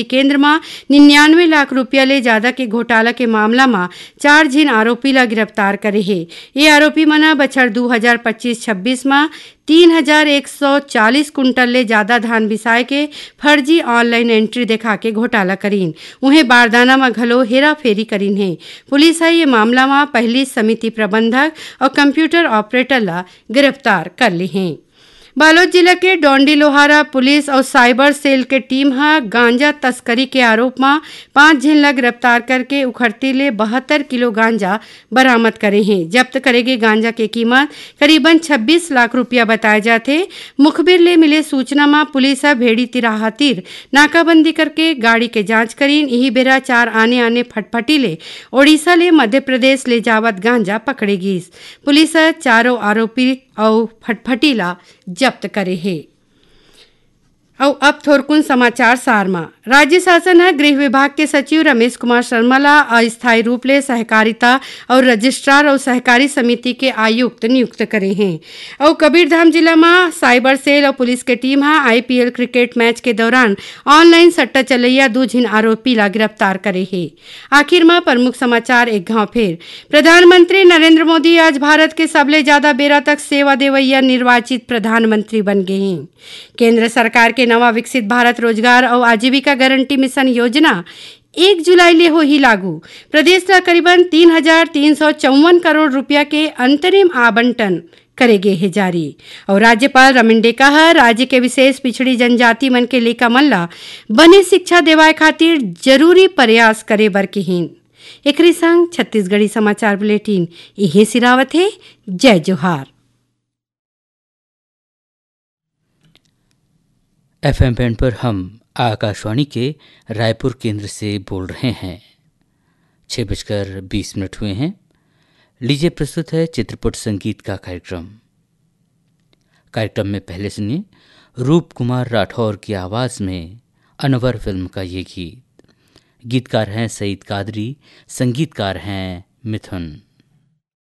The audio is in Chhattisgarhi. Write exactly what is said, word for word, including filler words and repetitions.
केंद्र म निन्यानवे लाख रुपया ले जादा के घोटाला के मामला म चार झिन आरोपी ल गिरफ्तार करे हे। ये आरोपी मन ह बछर दू हजार पच्चीस छब्बीस म तीन हजार एक सौ चालीस कुंटल ले जादा धान बिसाए के फर्जी ऑनलाइन एंट्री देखा के घोटाला करीन। उहें, बारदाना म घलो हेराफेरी करीन हे। पुलिस ह ये मामला म पहिली समिति प्रबंधक अउ कंप्यूटर ऑपरेटर ल गिरफ्तार कर ली हे। बालोद जिला के डोंडी लोहारा पुलिस अउ साइबर सेल के टीम ह गांजा तस्करी के आरोप म पांच झिन ल गिरफ्तार करके उखरती ले बहत्तर किलो गांजा बरामद करे हे। जब्त करे गे गांजा के कीमत करीबन छब्बीस लाख रुपया बताए जाथे। मुखबिर ले मिले सूचना म पुलिस ह भेड़ी तिराहा तीर नाकाबंदी करके गाड़ी के जांच करीन। इही बेरा चार आने-आने फटफटी ले ओडिशा ले मध्य प्रदेश ले जावत गांजा पकड़े गीस। पुलिस ह चारों आरोपी अउ फटफटी ला जब्त करे हे। अउ अब थोरकुन समाचार सार म। राज्य शासन ह गृह विभाग के सचिव रमेश कुमार शर्मा ला अस्थायी रूप ले सहकारिता अउ रजिस्ट्रार अउ सहकारी समिति के आयुक्त नियुक्त करे हे। अउ कबीरधाम जिला म साइबर सेल अउ पुलिस के टीम ह आईपीएल क्रिकेट मैच के दौरान ऑनलाइन सट्टा चलैया दू झिन आरोपी ला गिरफ्तार करे हे। आखिर म प्रमुख समाचार एक घाव फेर। प्रधानमंत्री नरेंद्र मोदी आज भारत के सबले जादा बेरा तक सेवा देवइया निर्वाचित प्रधानमंत्री बन गे हे। केंद्र सरकार के नवा विकसित भारत रोजगार अउ आजीविका गारंटी मिशन योजना एक जुलाई ले होही लागू। प्रदेश ला करीबन तीन हजार तीन सौ चौवन करोड़ रुपया के अंतरिम आवंटन करे गे हे जारी। अउ राज्यपाल रमेन डेका ह राज्य के विशेष पिछड़ी जनजाति मन के लइका मन ला बने शिक्षा देवाए खातिर जरूरी प्रयास करे बर किहीन। एकरे संग छत्तीसगढ़ी समाचार बुलेटिन इहे सिरावत हे। जय जोहार। एफएम बैंड पर हम आकाशवाणी के रायपुर केंद्र से बोल रहे हैं। छः बजकर बीस मिनट हुए हैं। लीजिए, प्रस्तुत है चित्रपट संगीत का कार्यक्रम। कार्यक्रम में पहले सुनिए रूप कुमार राठौर की आवाज़ में अनवर फिल्म का ये गीत। गीतकार हैं सईद कादरी, संगीतकार हैं मिथुन।